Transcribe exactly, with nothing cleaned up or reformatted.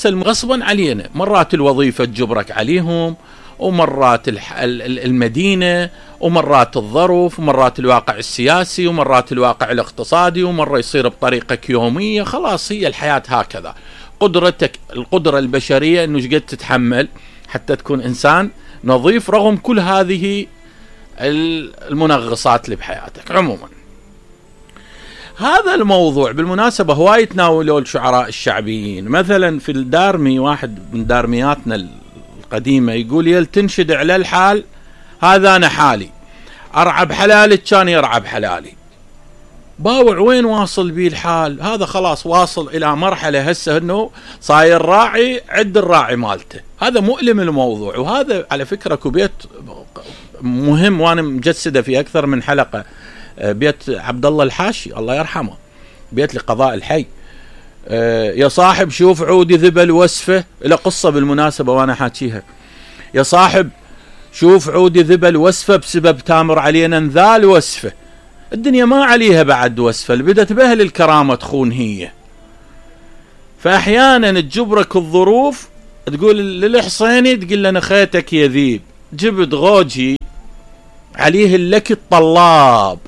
غصبا علينا، مرات الوظيفة تجبرك عليهم، ومرات المدينة، ومرات الظروف، ومرات الواقع السياسي، ومرات الواقع الاقتصادي، ومرة يصير بطريقك يومية. خلاص هي الحياة هكذا. قدرتك القدرة البشرية انه شقد تتحمل حتى تكون انسان نظيف رغم كل هذه المنغصات اللي بحياتك. عموما هذا الموضوع بالمناسبة هواي يتناولوا الشعراء الشعبيين. مثلا في الدارمي، واحد من دارمياتنا القديمة، يقول يل تنشد على الحال هذا أنا حالي، أرعب حلالك كان يرعب حلالي. باوع وين واصل بيه الحال؟ هذا خلاص واصل إلى مرحلة هسه أنه صاير راعي عد الراعي مالته. هذا مؤلم الموضوع. وهذا على فكرة كبيت مهم وأنا مجسده في أكثر من حلقة، بيت عبد الله الحاشي الله يرحمه، بيت لقضاء الحي. يا صاحب شوف عودي ذبل وسفه، إلى قصة بالمناسبة وأنا حاكيها. يا صاحب شوف عودي ذبل وسفه بسبب تامر علينا انذال وسفه. الدنيا ما عليها بعد وسفه، اللي بدت بها للكرامة تخون هي. فأحيانا تجبرك الظروف، تقول للحصيني تقول له نخيتك يا ذيب، جبت غوجي عليه اللك الطلاب